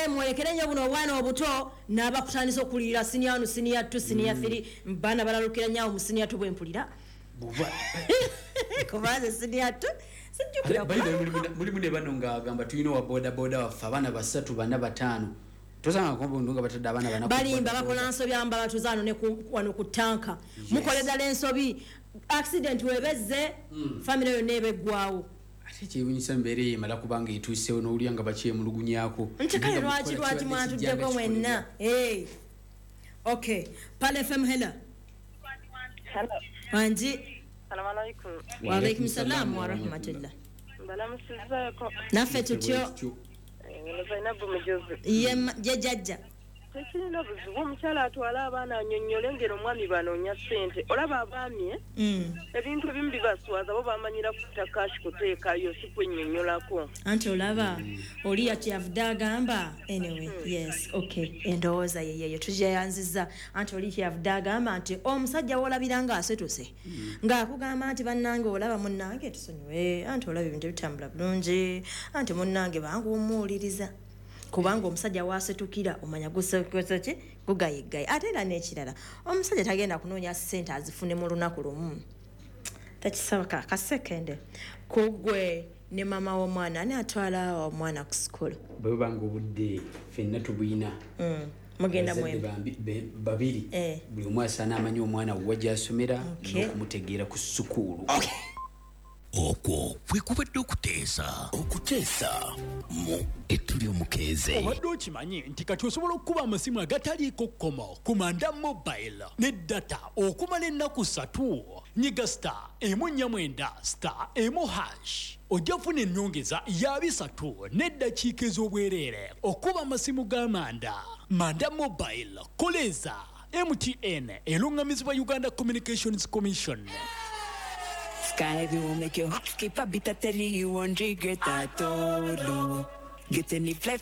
Mwolekere nnyo buno obwana obuto n'abakutandisa okulirira senior 1, senior 2, senior 3. Baana balalukira nnyo mu senior 2 bwempulira. Kubanze senior 2 sijjukira. By the way, mulimu ne bano ng'agamba tulina owa boda boda waffe, abaana basatu, bana, bataano. Tosanga kombo nga batadde abaana bana ku Balimba. boda boda. Bakola nsobi amba batuzaano ne wano ku tanka. Mukola ddala ensobi. Accident webezze, family yonna eba eggwawo. Ate kyewunyisa, embeera eyo emala kubanga etuusewo n'owulira nga bakyemulugunyaako. Nti kale Nga lwaki mukola lwaki kibadde mwatuddeko kijja nga mwenna? Eh. Okay, Pal FM, hello. Hello. Wangi. Salamu alaikum. Waalaikum salam warahmatullah. Mbalamusizaako. Naffe tutyo. Ono Zainabu Mujuzi. Ye ye jjajja. Tekirina buzibu, omukyala atwale abaana annyonnyole ngeri omwami banoonya ssente. Olaba abaami, eh? Ebintu ebimu bibaswaza, bo bamanyira kuta cash kuteekayo, si kwennyonnyolako. Anti olaba oli yakyavudde agamba, anyway, yes, okay, endowooza yeyeyo tugyeyanziza. Anti oli kyavudde agamba nti omusajja woolabira ng'asetuse ng'akugamba nti bannange, olaba munnange, tusonyiwe, anti olaba ebintu ebitambula bulungi, anti munnange bangu omuwuliriza, kubanga omusajja wasetukira omanya gusekoze ki, gugayigayi. Ate era n'ekirala, omusajja tagenda kunoonya ssente azifune mu lunaku lumu, tekisoboka. Kasekende kugwe ne mama w'omwana, ani atwala omwana ku sukulu? Bwe bubanga obudde ffenna tubuyina, Mugenda abazadde mwembi. Babiri. Buli omu asaana amanyi omwana wa gy'asomera n'okumutegeera ku sukuulu. Okwo kwe kubadde okuteesa, okuteesa mu Ettuli Omukeeze. Obadde okimanyi nti kati osobola okukuba amasimu agataliiko kkomo ku Manda Mobile ne data okumala ennaku 3? Nyiga *149*1# ojja kufuna ennyongeza ya 300 n'eddakiika ez'obwereere okuba amasimu ga Manda. Manda Mobile, koleeza MTN, eruŋŋamizibwa Uganda Communications Commission. Sky will make your heart skip a beat. I tell you, you won't regret at all. Oh. Get any flight.